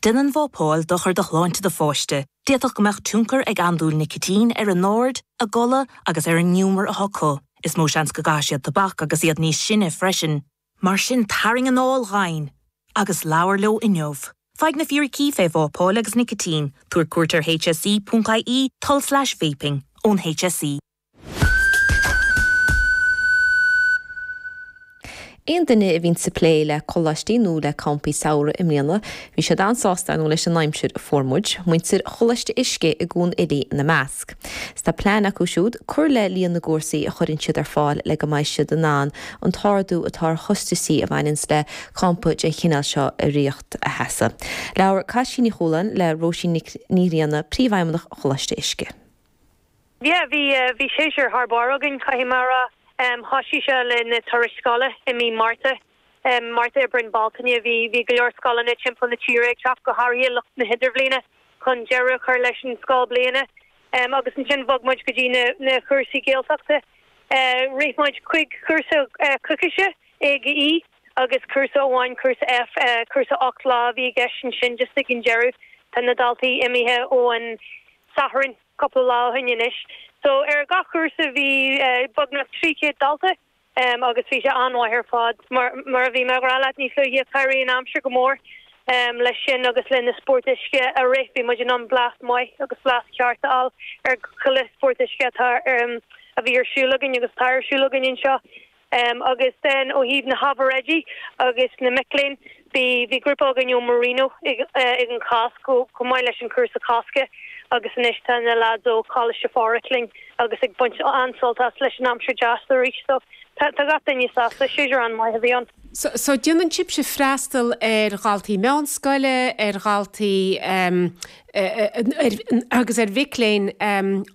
Déanann vápáil dochar do shláinte do pháiste. D'fhéadfadh go mbeadh tionchar ag andúil nicitín ar a n-aird, a gcodladh agus ar an ngiúmar atá acu. Is mó seans go gcaithfidh siad tobac agus iad níos sine freisin. Mar sin tarraing anáil dhomhain agus labhair leo inniu. Faigh na fíricí fé vápáil agus nicitín, tabhair cuairt ar hse.ie tulslais vaping ón HSE. Aon duine a bhíonns ag plé le coláistí nó le campaí samhraidh i mbliana, bhí siad an-sásta ar ndóigh leis an aimsir a fuair muid, muintir Choláiste Uisce i gCuan Fhilí ina measc. 'S tá plean acu siúd cur le líon na gcúrsaí a chuireann siad ar fáil le go mbeidh siad in ann an t-ardú atá ar chostaisí a bhaineanns le campa den chineál seo a ritheacht a sheasamh. Labhair Caisín Ní Chualáin le Róisín Nic Ní Ghrianna, Príomhfheidhmeannach Choláiste Uisce. Yeah, bhí, bhí séasúr thar barr againn, caithfidh mé a rá. Thoisigh sé le na turais scoile i mí Márta, Márta, Aibreán, Bealtaine. Bhí, bhí go leor scoileanna timpeall na tíre ag teacht, go háirithe lucht na hidirbhliana, chun deireadh a chur leis an scoil bliana. Agus ansin bhog muid go dtí na, na cúrsaí Gaeltachta. Rith muid chuig chúrsa coicíse, A go E, agus cúrsa amháin, cúrsa F, cúrsa 8 lá a bhí i gceist ansin just ag an deireadh. Tá na daltaí imithe ó an Satharn. cúpla lá ó shin anois. So ar gach cúrsa bhí beagnach 300 dalta agus bhí sé an-mhaith ar fad. Mar mar a bhí mé ag rá leat níos luaithe, chabhraigh an aimsir go mór leis sin agus le na spóirt uisce a rith. Bhí muid in ann blas maith agus blas ceart a fháil ar chuile spórt uisce atá a bhí ar siúl againn agus atá ar siúl againn anseo. Agus then ó thaobh na hábhair oidí agus na mic léinn, bhí bhí grúpa againn ó Marino ag an Chásc chomh maith leis an chúrsa Cásca agus anois tá na lads ó Choláiste Phádraig linn agus ag baint an-sult as leis an aimsir deas arís so tá tá gach duine sásta, séasúr an-mhaith a bhí ann. So so déanann sibhse freastal ar dhaltaí meánscoile, ar dhaltaí agus ar mhic léinn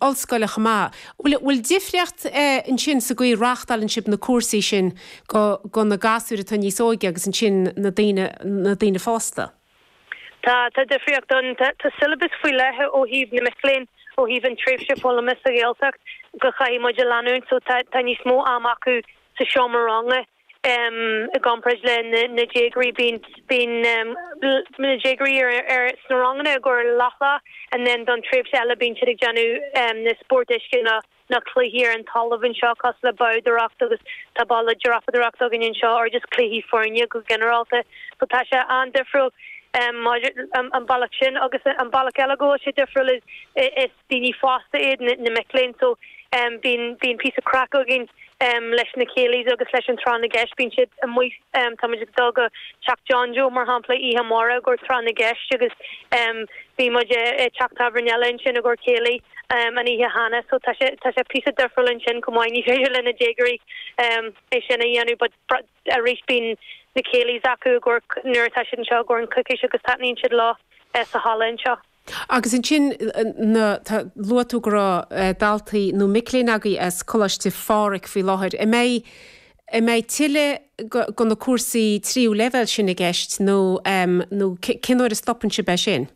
ollscoile chomh maith. Bhfuil difríocht ansin sa gcaoi a reáchtálann sibh na cúrsaí sin do na gasúir atá níos óige agus ansin na daoine, na daoine fásta? Tá, tá difríocht ann. Tá syllabus faoi leith ó thaobh na mic léinn, ó thaobh an tréimhse foghlama sa Ghaeltacht go chaithfidh muid a leanúint so tá tá níos mó am acu sa seomra ranga. I gcomparáid le na déagóirí, bíonn bíonn na déagóirí ar ar sna ranganna i gcomhair leathlá and then don tréimhse eile bíonn siad ag déanamh na spóirt uisce nó na cluichí ar an talamh anseo cosúil le bádóireacht agus tá balla dreapadóireachta againn anseo or just cluichí foirne go ginearálta. So tá sé an-difriúil maidir an bealach sin agus an bealach eile go bhfuil sé difriúil is is daoine fásta iad na mic léinn so bíonn bíonn píosa craic againn leis na céilís agus leis an tráth na gceist. Bíonn siad amuigh, tá muid ag dul go teach John Joe mar shampla oíche amárach i gcomhair tráth na gceist agus bhí muid i teach tábhairne eile ansin i gcomhair céilí an oíche cheana so tá sé tá sé píosa difriúil ansin chomh maith. Ní féidir le na déagóirí é sin a dhéanamh but arís bíonn na céilís acu i gcomhair nuair atá siad anseo i gcomhair an coicís agus taitníonn siad leo sa halla anseo. Agus ansin, na, luaigh tú go raibh daltaí nó mic léinn agaibh as Coláiste Phádraig faoi láthair. An mbeidh, an mbeidh tuilleadh de na cúrsaí tríú leibhéal sin i gceist nó, nó cén uair a stopann sibh é sin?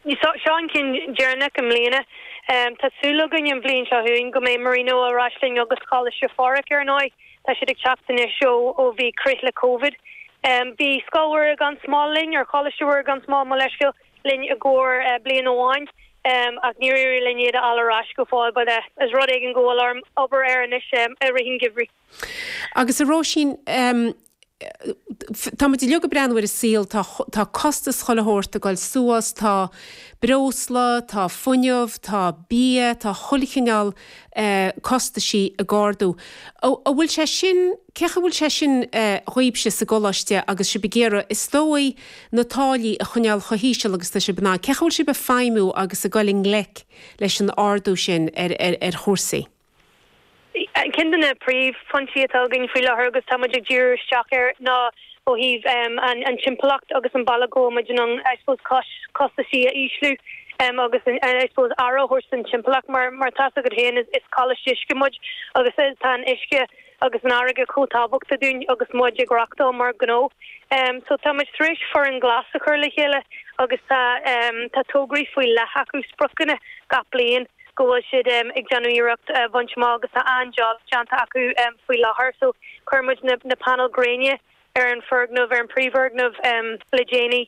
Seo an ceann deireanach i mbliana. Tá súil againn an bhliain seo chugainn go mbeidh Marino ar ais linn agus Coláiste Phádraig ar ndóigh. Tá siad ag teacht anois ó bhí crith le Covid. Bhí Scoil Mhuire gan Smál linn, or Coláiste Mhuire gan Smál, mo leithscéal, linn i gcomhair bliain amháin ach níor éirigh linn iad a fháil ar ais go fóill but is rud éigin go bhfuil orm obair air anois i rith an gheimhridh. Agus a Róisín, tá muid uilig ag breathnú ar an saol, tá tá costas chuile shórt ag dul suas, tá breosla, tá fuinneamh, tá bia, tá chuile chineál costaisí ag ardú. An bhfuil sé sin, cén chaoi a bhfuil sé sin dhaoibhse sa gcoláiste agus sibh ag iarraidh, is dóigh, na táillí a choinneáil chomh híseal agus tá sibh in ann? Cén chaoi a bhfuil sibh ag feidhmiú agus ag dul i ngleic leis an ardú sin ar chúrsaí? Ceann de na príomhphointí atá againn faoi láthair agus tá muid ag díriú isteach air ná ó thaobh an timpeallacht agus an bealach go bhfuil muid in ann I suppose costaisí a ísliú agus I suppose aire a thabhairt don timpeallacht mar mar tá's agat féin is coláiste uisce muid agus tá an uisce agus an fharraige chomh tábhachtach dúinn agus muid ag reachtáil mar ghnó. So tá muid tar éis foireann glas a chur le chéile agus tá tá tograí faoi leith acu, spriocanna gach bliain go bhfuil siad ag déanamh iarracht a bhaint amach agus tá an-job déanta acu faoi láthair. So chuir muid na na painéil gréine ar an foirgneamh, ar an príomhfhoirgneamh le déanaí.